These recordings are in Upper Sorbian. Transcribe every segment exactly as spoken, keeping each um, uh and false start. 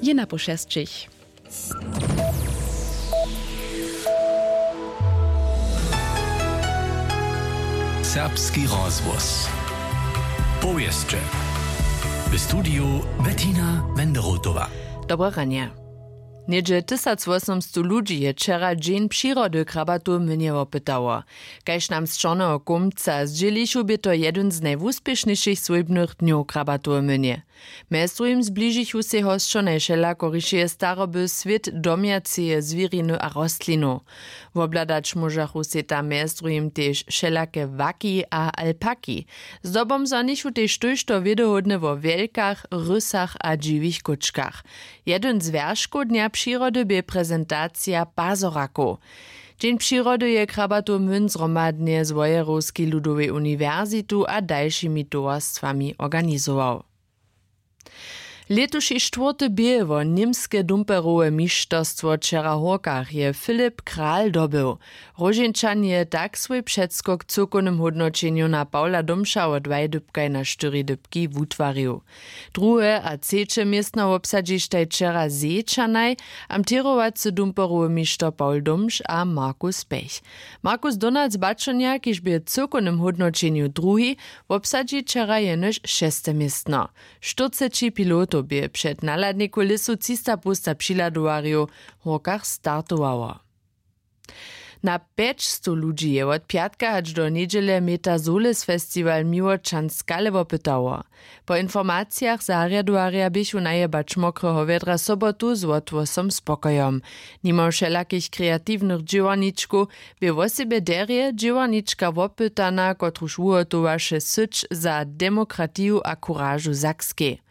Jena po šesćich. Serbski rozhłos. Powěsće. W studiju Bettina Wenderotowa. Dobre ranje. Něhdźe tysacwosomstow ludźi je wčera dźeń přirody w Krabatow młynje wopytało. Kaž nam z Čorneho kómca zdźělichu, bě to jedyn z najwuspěšnjejšich swójbnych dnjow w Krabatow młynje. Mjez druhim zbližichu sej hosćo najwšelakorišeje staroby, swět domjaceje zwěriny a rostlinow. Wobhladać móžachu sej tam mjez druhim tež wšelake waki a alpaki. Zdobom zhonichu tež tójšto wědohódne wo wjelkach, rysach a dźiwich kóčkach. Jedyn z wjerškow dnja přirody bě prezentacija pazorakow. Dźeń přirody je Krabatow młyn zhromadnje z wojerowskej ludowej uniwersitu a dalšimi towarstwami organizował. Lětuši štwórty bě wo němske dumperowe mišterstwo wčera w hórkach je Filip Kral dobył. Róžeńčan je tak swój předskok w cyłkownym hódnoćenju na Pawla Domša wot dwaj dypkaj na štyri dypki wutwarił. Druhe a třeće městno wobsadźištaj wčera Zečanaj, amtěrowacy dumperowy mišter Pawl Domš a Markus Pech. Markus Donald z Bačonja, kiž bě w cyłkownym hódnoćenju druhi, wobsadźi wčera jenož šeste městno. Štyrceći pilotow bě před nahladniku lěsu třista połsta přihladowarjow w hórkach startowało. Na pjećstow ludźi je wot pjatka hač do njedźele Meta Solis Festiwal Miłočan Skale wopytało. Po informacijach zarjadowarja běchu najebać mokreho wjedra sobotu z wotwosom spokojom. Nimo wšelakich kreatiwnych dźěłarničkow bě wosebje derje dźěłarnička wopytana, kotruž wuhotowaše syć za demokratiju a kuražu w Sakskej.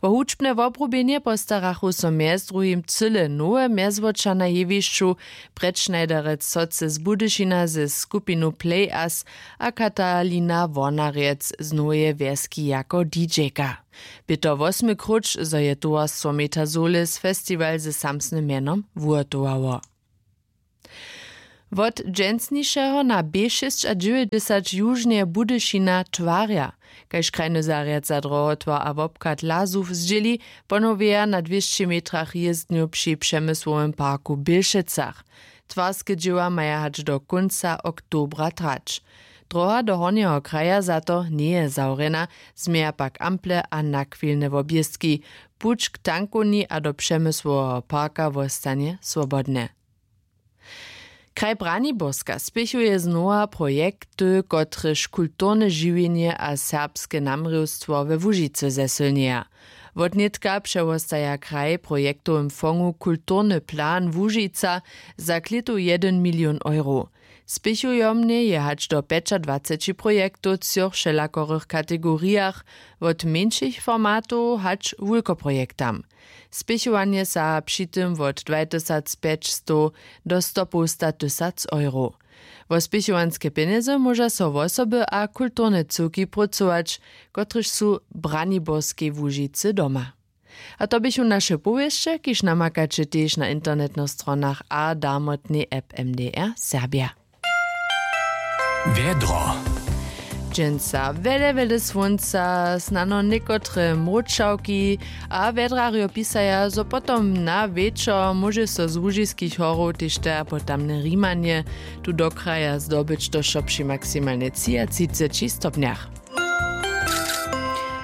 Wo hudźbne wobrubjenje postarachu so mjez druhim cyle nowe mjezwoča na jewišću, Brett Schneiderec Soce z Budyšina ze skupinu Play Us a Katalina Wornarjec z Noweje Wjeski jako DJka. Bě to wosmy króć, zo je towarstwo Meta Solis festiwal ze samsnym mjenom wuhotowało. Wot dźensnišeho na B šěsćadźewjećdźesat južnje Budyšina twarja. Kaž krajny zarjad za drohotwar a wobchad Lazów zdźěli, ponowjeja na dwěsći metrach jězdnju při Přemysłowym parku w Bělšecach. Twarske dźěła maja hač do kónca oktobra trać. Droha do Hornjeho kraja za to njeje zawrjena, změja pak ample a nachwilne wobjězki. Puć k tankowni a do Přemysłoweho parka wostanje swobodne. Kraj Braniborska spěchuje znowa projekty, kotrež kulturne žiwjenje a serbske namrěwstwo we Łužicy zesylnjeja. Wotnětka přewostaja kraj w projektowym fongu Kulturny plan Łužica za klětu jedyn milion euro. Spěchujomnje je hač do pjećadwaceći projektow w třoch wšelakorych kategorijach, wot mjeńšich formatow hač wulkoprojektam. Spěchowanje saha při tym wot dwatysacpjećstow do stopołstatysac euro. Wo spěchowanske pjenjezy móža so wosoby a kulturne cyłki prócować, kotrež su w Braniborskej Łužicy doma. A to běchu naše powěsće, kiž namakaće tež na internetnych stronach a darmotnej app M D R Serbja. Wjedro. Dźensa wjele wjele słónca, snano někotre mróčawki, a wjedrarjo pisaja, zo potom na wječor móže so z łužiskich horow tež te a potamne rimanje tu do kraja zdobyć do wšo při maksimalnje třiatřiceći stopnjach.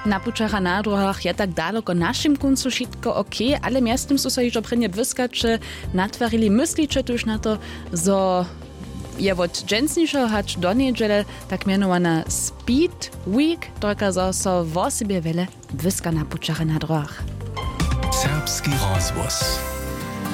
Na pućach a na dróhach je tak daloko w našim kóncu wšitko okej, ale mjeztym su so hižo prěnje błyskaće natwarili. Mysliće tuž na to, zo je wot dźensnišeho hač do njedźele tak mjenowana Speed Week, to kazo so wosebje wjele błyska na pućach a na dróhach. Serbski rozhłos.